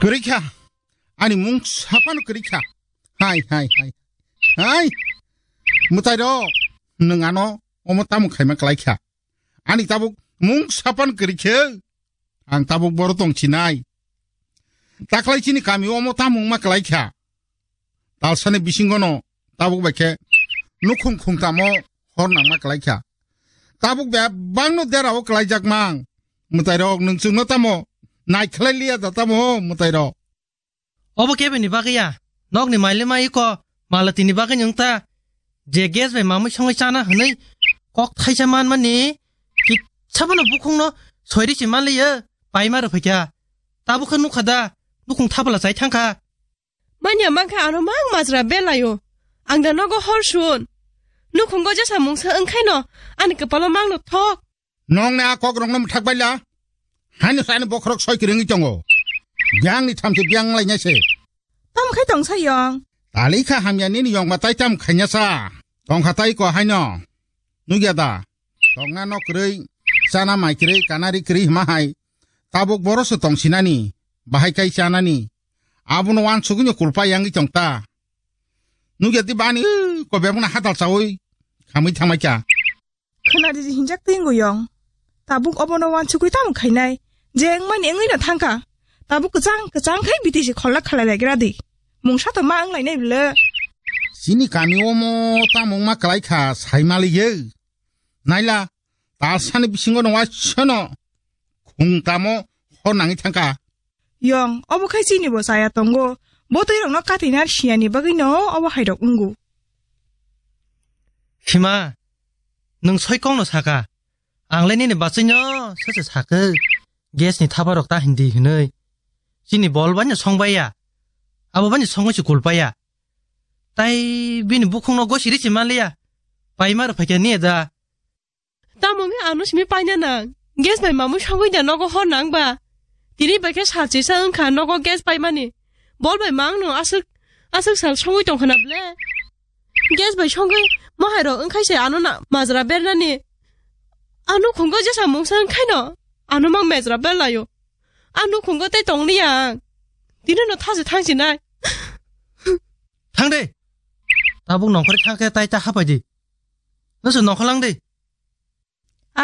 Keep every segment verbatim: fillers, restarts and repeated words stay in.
Kwrwi kha. Ani mung saphano kwrwi kha. Hai, hai, hai. Hai. Mwtai rok, nwng ano omo tamo khaima kwlai kha? Ani tabuk mung saphano kwrwi khe. Ang tabuk boro tong sinai. Taklai chini kami omo tamo wngma kwlai kha? Talsani bisingono tabuk bai khe nukhung khungtamo hor nangma kwlai kha. Tabuk bebakno derao kwlaijak mang. Mwtai rok, nwng chwngno tamo naikhlai liya da tamo, mwtai rok? Obo kebeni bagwi ya? Nokni mailima iko malatini bagwi nwng ta je gas bai mamwi songwi chana hwnwi kok thaisa manmani kisa bono bukhungno soiri se manliya, paima rwphaikha. Tabuk khe nukha da, nukhung thapala chai thangkha. Manya mankha ano mang majra belayo. Ang da nogo hor sun. Nukhungo jesa mungsa wngkhaino ani kwpalo mangno thok. Nokni a kokrokno mwthak baila. Haino sani bokhorok soi kwrwngwi tongo. Biyangni thamchi biyang lainai se. Tamo khai tongsa yong? Tali kha hamya nini yong ba tai tam khainasa. Tongkha tai ko haino. Nugya da? Tongna nok kwrwi, chana mai kwrwi, kanari kwrwi hima hai. Tabuk boro se tong sinani, bahai kai chanani. Abono wansugwino kulpa yangwi tong ta. Nugya di bani, ko bebakno hadal chawi khamwi thangmai kha. Khwnadi je hinjak twi wngo yong. Tabuk obono wansugwi tamo khainai? Je wngmani wngwino thangkha. Tabuk kwchang kwchang khai biti se kholna khalai lai gra di. Mungsa to ma wng lainai bwle. Chini kami omo tamo wngma kwlai kha sai maliye. Naila, talsani bisingo no waisano khung tamo hor nangwi thangkha. Yong, obo khai chini bo chaya tongo. Bo twi rokno katina siyani bagwi no obo hai rok wngo. Sima, nwng soi kongno saka. Ang le nini bachwino sese sakhe. Gas ni thapa rok ta hindi hinwi. Chini bol bani song baiya. Abo bani songwi se kul paiya. Tai bini bukhungno gosi ri se manliya. Paima rw phaikha niya da. Tamo wngwi ano simi paina nang? Gas bai mamwi songwi da nogo hor nang ba? Tini bai khe sal chisa wngkha nogo gas paimani. Bol bai ma wngno aswk, aswk sal songwi tongkha na ble? Gas bai songwi mohai rok wngkhai se ano na majra bernani. Ano khungo jesa mungsa wngkhaino ano mang majra berlaio. Ano khungo tei tongliya ang. Tini no thaje thangsinai. Thang de. Tabuk nongkhor thang khe tai ta hapai di. Noso nongkhor lang de.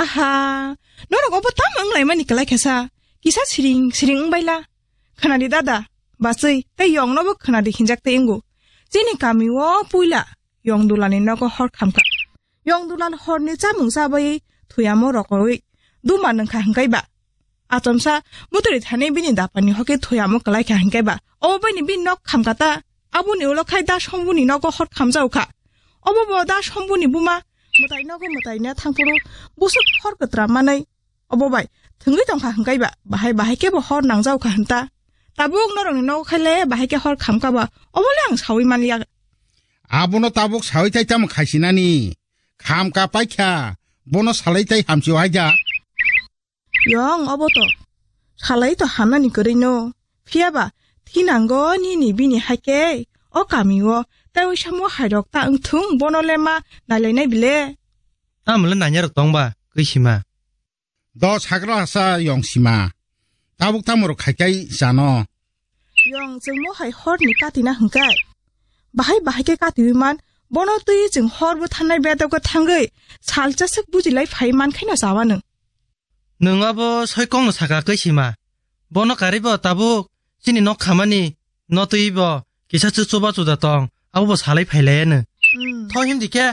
Aha, norok obo tamo wnglaimani kwlai khe sa? Kisa siring siring wngbaila. Khwnadi dada, bachwi tei yongnobo khwnadi hinjak tei wngo. Chini kamio puila yong dulani nogo hor khamkha. Yong dulan horni chamung chabai thuyamo rokorwi duma nungkha hwnkaiba. Achomsa buturi thani bini dapani hoke thuyamo kwlai kha hwnkhe ba. Obo baini bini nok khamkata. Aboni ulo khai da sombuni nogo hor khamjao kha. Obo bo da sombuni buma mwtai nogo mwtai na thangphuru busuk hor kwtra manai. Obo bai thwngwi tongkha hwnkhe ba bahai bahai khe bo hor nangjao kha hwnta. Tabuk norokni nogo khai le bahai khe hor khamka ba obo le ang sawi manliya. Abono tabuk sawi tai tamo khaisinani? Khamka paikha bono salai tai hamsio haida. Yong obo to. Salai to hamnani kwrwi no. Phiya ba thinango nini bini hai khe o kami o tei samo hai rok ta wngthung bono le ma nailainai bile. Tamo le nanya rok tong ba kwisima. Do sakra hasa yong sima. Tabuk tamo rok khai kai chano. Yong chwngmo hai hor ni kati na hwnkhe. Bahai bahai khe kati wi man bono twi chwng hor bo thanai bedo khe thangwi salcha swk bujilai phai man khe no chawa nwng. Nwng abo soi kong no saka kwisima. Bono karwi bo tabuk chini nok khamani no twi bo kisa chwk chuba chuda tong abo bo salai phai lai ano. Hmm. Tho himdi khe.